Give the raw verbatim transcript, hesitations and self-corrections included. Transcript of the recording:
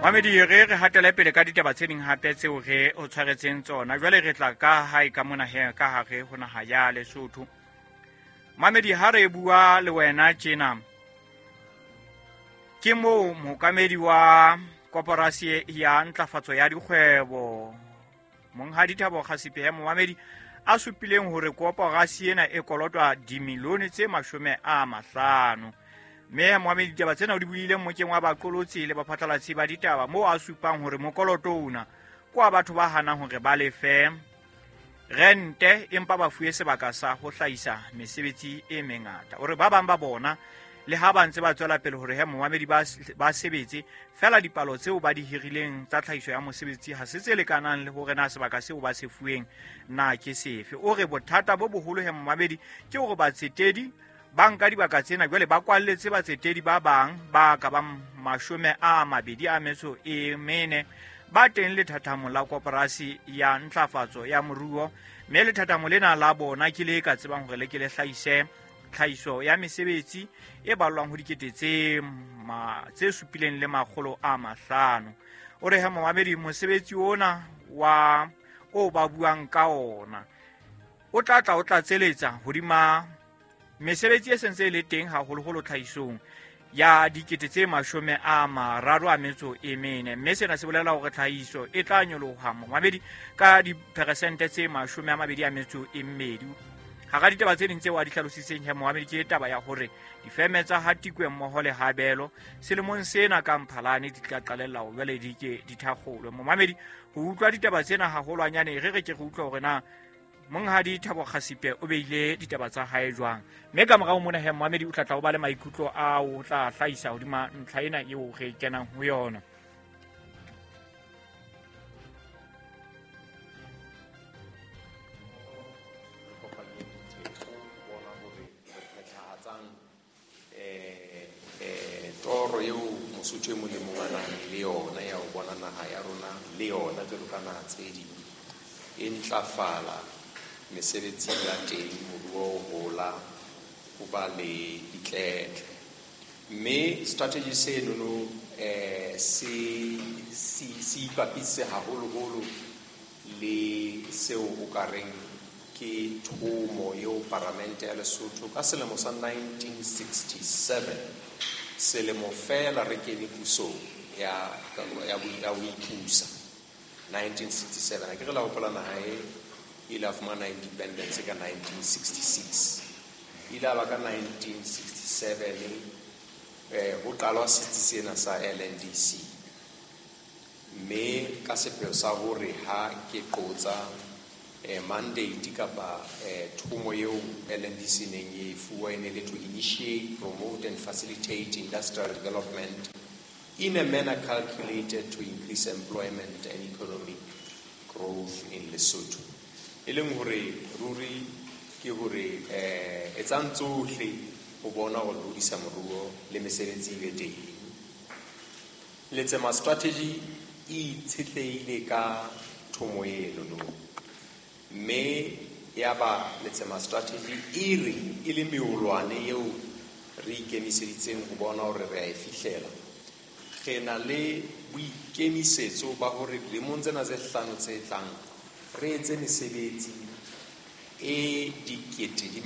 Mamedi, re re hatele pele ka ditaba tse ding hape tseo re o tshwaretseng tsona. Jwale re tla ka hae ka mona he ka hare ho naha ya Lesotho. Mamedi, ha re bua le wena tjena, ke moo mookamedi wa koporasi ya ntlafatso ya dikgwebo Monghadi Thabo Kgasipe momamedi a supileng hore koporasi ena e kolotwa dimilione tse mashome a mahlano. Mme momamedi, ditaba tsena o di buile mmokeng wa baqolotsi le baphatlalatsi ba ditaba moo a supang hore mokoloto ona ke wa batho ba hanang hore ba lefe rente empa ba fuwe sebaka sa ho hlahisa mesebetsi e mengata. O re ba bang ba bona le ha ba ntse ba tswela pele hore he momamedi ba, ba sebetse fela, dipalo tseo ba di hirileng tsa tlhahiso ya mosebetsi ha se tse lekanang le hore na sebaka seo ba se fuweng na ke sefe. O re bothata bo boholo he momamedi ke hore batsetedi ba nka dibaka tsena jwale ba kwalletse batsetedi ba bang ba ka bang mashome a mabedi a metso e mene ba teng lethathamo la koporasi ya ntlafatso ya moruo, mme lethathamo lena la bona ke le ka tsebang hore le ke le hlahise tlhahiso ya mesebetsi e ballwang ho dikete tse ma, tse supileng le makgolo a mahlano. O re he momamedi, mosebetsi ona wa o ba buang ka ona o tla tla o tlatseletsa hodima mesebetsi e sentse e le teng haholoholo tlhahisong ya dikete tse mashome a mararo a metso e mene, mme sena se bolela hore tlhahiso e tla nyoloha momamedi ka diperesente tse mashome a mabedi a metso e mmedi. Hara ditaba tse ding tseo a di hlalositseng he momamedi ke taba ya hore difeme tsa Hatikwe mmoho le Habelo selemong sena ka Mphalane di tla qalella ho jwale di ke di thakgolwe. Momamedi, ho utlwa ditaba tsena haholwanyane re re ke re utlwa hore na Monghadi Thabo Kgasipe o beile ditaba tsa hae jwang, mme ka morao mona he momamedi o tla tla o ba le maikutlo a o tla hlahisa hodima ntlha ena eo re kenang ho yona. Toro eo Mosotho e mong le mong a nang le yona ya ho bona naha ya rona le yona jwalo ka naha tse ding e ntlafala, mesebetsi ya teng, moruo o hola, ho ba le ditletle. Mme strategy senono eh se se se ipapise haholoholo le seo o ka reng ke thomo eo Paramente ya Lesotho ka selemo sa nineteen sixty-seven, selemo fela re kene pusong ya ya ya ho ipusa nineteen sixty-seven. Ha ke re la hopola naha e ile ya fumana independence ka nineteen sixty-six, ile ya ba ka nineteen sixty-seven eh ho qalwa setsi sena sa L N D C, mme ka sepheo sa hore ha ke qotsa eh mandate kapa eh thomo eo L N D C neng e fuwa e ne le to initiate, promote and facilitate industrial development in a manner calculated to increase employment and economic growth in Lesotho. E leng hore ruri ke hore eh etsang tsohle ho bona hore hodisa moruo le mesebetsi e be teng. Letsema strategy e itshetlehile ka thomo eno no, mme ya ba Letsema strategy e re e le meolwane eo re ikemiseditseng ho bona hore re a e fihlela. Re na le boikemisetso ba hore dilemong tsena tse hlano tse tlang re etse mesebetsi e dikete di